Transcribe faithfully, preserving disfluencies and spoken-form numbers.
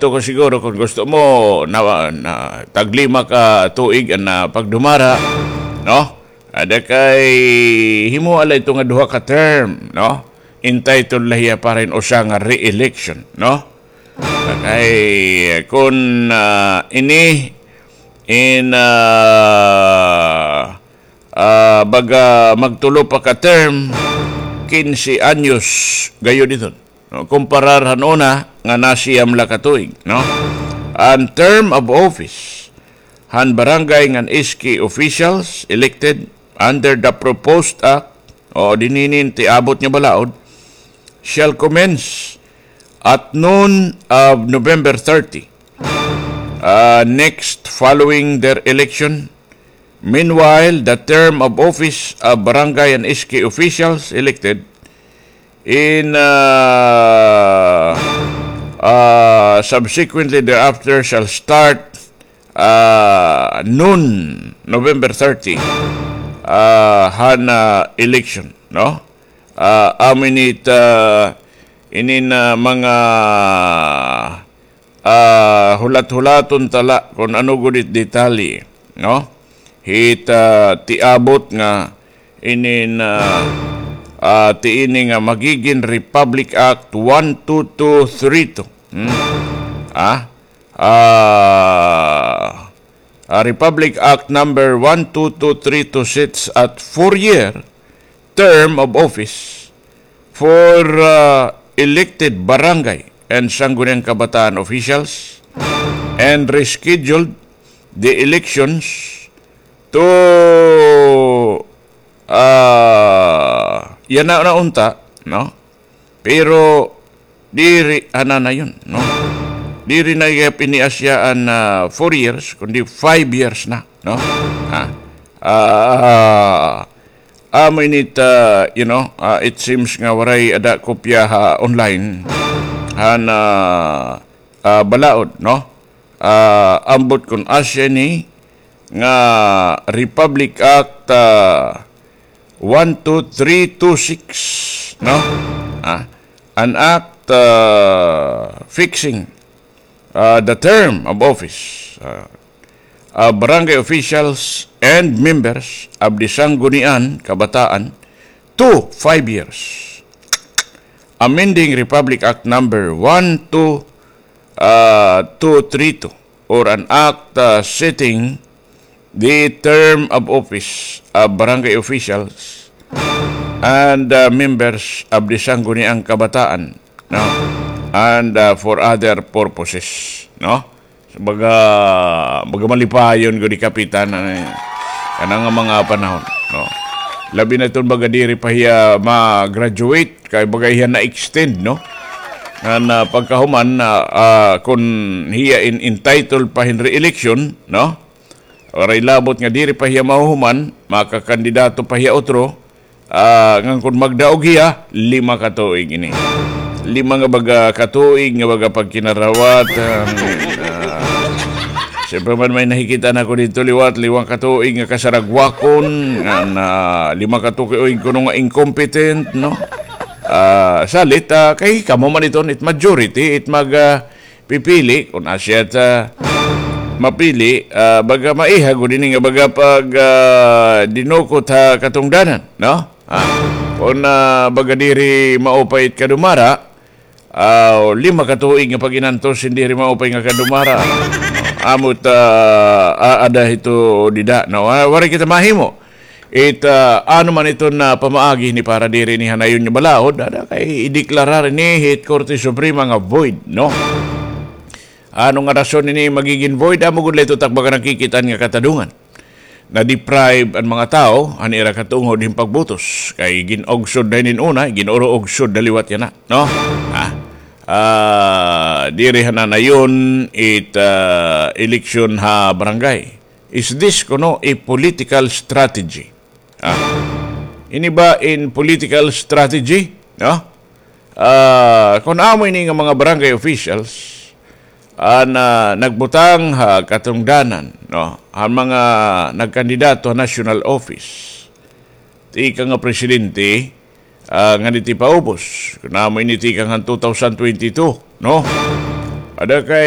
Gusto ko siguro kung gusto mo na, na taglima ka tuig an, ah, pagdumara, no? Ada kay himo alay ito nga duha ka term, no? Entitled la hiya para in usa nga re-election, no? Kay kun, ah, ini in, ah, ah, baga magtulo pa ka term, kinse anyos gayod iton. No, kumparar han una nga nasiyam la ka tuig, no? An term of office han barangay ngan S K officials elected under the proposed act, o dinhi ini tiabot nga balaod, shall commence at noon of November thirty, uh, next following their election. Meanwhile, the term of office of barangay and S K officials elected in, uh, uh, subsequently thereafter shall start, uh, noon, November thirty, uh, han, uh, election, no? Uh, amo ini it, uh, inin, uh, mga ah, hulat-hulaton ta la kun ano gud it detalye, no? Hit, ah, tiabot nga inin, ah, ah, ti ini nga magigin Republic Act one two two three two. Hmm? Ah? Ah, ah, Republic Act number one two two three two sets at four-year term of office for, uh, elected barangay and Sangguniang Kabataan officials and rescheduled the elections to, uh, yana na unta, no? Pero diri ananayon, no? Diri na gihap ini asya an, ah, four years, kundi five years na, no? Ha? Ah, amo ini it, ah, you know, ah, it seems nga waray ada kopya ha online han, ah, ah, balaod, no? Ah, ambot kun asya ini nga Republic Act, ah, one two three two six, no? Ah, an act, ah, fixing, ah, the term of office, ah, of barangay officials and members of the Sangguniang Kabataan to five years. Amending Republic Act number one two, ah, two three two, or an act, ah, setting the term of office of barangay officials and, uh, members of the Sangguniang Kabataan, no? And, uh, for other purposes, no? Baga, baga malipayon gud ni Kapitan, ano, eh, kana nga mga panahon, no? Labi na iton baga diri pa hiya ma-graduate, kay baga hiya na-extend, no? Ngan, ah, pagkahuman, ah, ah, kun hiya in entitled pa hin re-election, no? Waray labot nga diri pa hiya mahuhuman, makakandidato pa hiya utro. Ah, ngan kun magdaog hiya, lima ka tuig ini. Lima nga baga ka tuig nga baga pagkinarawat, ah, ah, siyempre man may nakikita na ko didto liwat, lima ka tuig nga kasaragwakon, ngan, ah, lima ka tuig kuno nga incompetent, no? Ah, salit, ah, kay kamo man iton, it majority, it mag, ah, pipili, kun asya ta mapili, ah, baga maiha gud ini nga baga pag, ah, dinukot ha katungdanan, no? Ah, kun, ah, baga diri maupay it kadumara, ah, lima ka tuig nga pag-inantos, hin diri maupay nga kadumara. Amo ta, ah, aada hito dida, no? Ah, waray kita mahimo. It, ah, ano man iton, ah, pamaagi ni para diri ini han nayon nga balaod, ada kay ideklarar ini hit Korte Suprema nga void, no? Ano nga rason ini magigin void? Amo gud la ito tak baga nakikit-an nga katadungan. Na-deprive an mga tawo han ira katungod hin pagbutos. Kay gin-ugsod na hinin una, gin-uro-ugsod na liwat yana, no? Ha? Ah, diri han nayon it, ah, eleksyon ha barangay. Is this kuno a political strategy? Ah, ini ba in political strategy, no? Ah, kun amo ini nga mga barangay officials an, ah, nagbutang ha katungdanan, no, han mga nagkandidato ha national office, tikang nga presidente, ah, ngan iti paubos, kun amo ini tikang han two thousand twenty-two, no? Ada kay